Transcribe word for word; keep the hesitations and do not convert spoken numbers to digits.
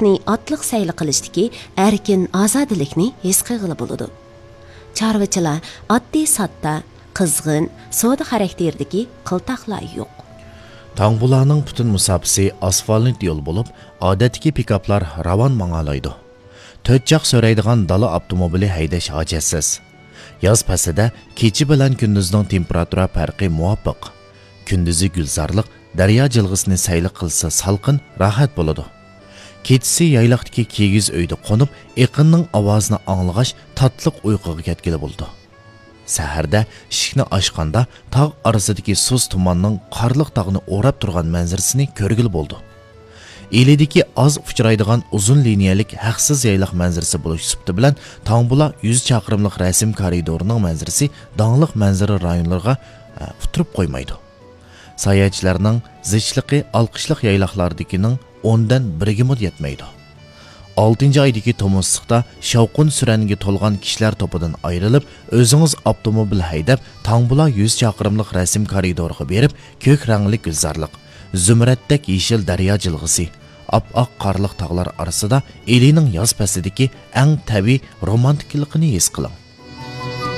ئاتلىق سەيلە قىلىشتىكى ئەركىن ئازادىلىكنى ھېس قىلغىلى بولىدۇ. چارۋىچىلار ئاددىي ساددا، قىزغىن، سودا خاراكتېرىدىكى قىلتاقلار يوق. تاڭبۇلانىڭ پۈتۈن مۇساپىسى ئاسفالت يول بولۇپ، ئادەتتىكى پىكاپلار راۋان ماڭالايدۇ. تۆت جاق سۆرەيدىغان دالا ئاپتوموبىلى ھەيدەش ھاجەتسىز. ياز پەسلىدە كېچە بىلەن كۈندۈزنىڭ تېمپېراتۇرا پەرقى مۇۋاپىق. كۈندۈزى گۈلزارلىق، دەريا جىلغىسىنى سەيلە قىلسا سالقىن، راھەت بولىدۇ. كېچىسى يايلاقتىكى كىگىز ئۆيدە قونۇپ، ئېقىننىڭ ئاۋازىنى ئاڭلىغاچ، تاتلىق ئۇيقۇغا كەتكىلى بولىدۇ. سەھەردە ئىشىكنى ئاچقاندا، تاغ ئارىسىدىكى سۇس تۇماننىڭ قارلىق تاغنى ئوراپ تۇرغان مەنزىرىسىنى كۆرگىلى بولىدۇ. ئىلىدىكى ئاز ئۇچرايدىغان ئۇزۇن لىنىيەلىك ھەقسىز يايلاق مەنزىرىسى بولۇش سۈپىتى بىلەن تاڭبۇلا يۈز چاقىرىملىق رەسىم كارىدورىنىڭ مەنزىرىسى داڭلىق مەنزىرە رايونلىرىغا، ئە، ئۇتتۇرۇپ قويمايدۇ. ساياھەتچىلەرنىڭ زىچلىقى ئالقىشلىق يايلاقلاردىكىنىڭ ئوندىن بىرىگىمۇ يەتمەيدۇ. ئالتىنچى ئايدىكى تومۇزلۇقتا شاۋقۇن سۈرەنگە تولغان كىشىلەر توپىدىن ئايرىلىپ، ئۆزىڭىز ئاپتوموبىل ھەيدەپ، تاڭبۇلا يۈز چاقىرىملىق رەسىم كارىدورىغا بېرىپ، كۆك رەڭلىك گۈلزارلىق، زۇمرەتتەك يېشىل دەريا جىلغىسى، ئاپئاق قارلىق تاغلار ئارىسىدا ئىلىنىڭ ياز پەسلىدىكى ئەڭ تەبىئىي رومانتىكىلىقىنى ھېس قىلىڭ.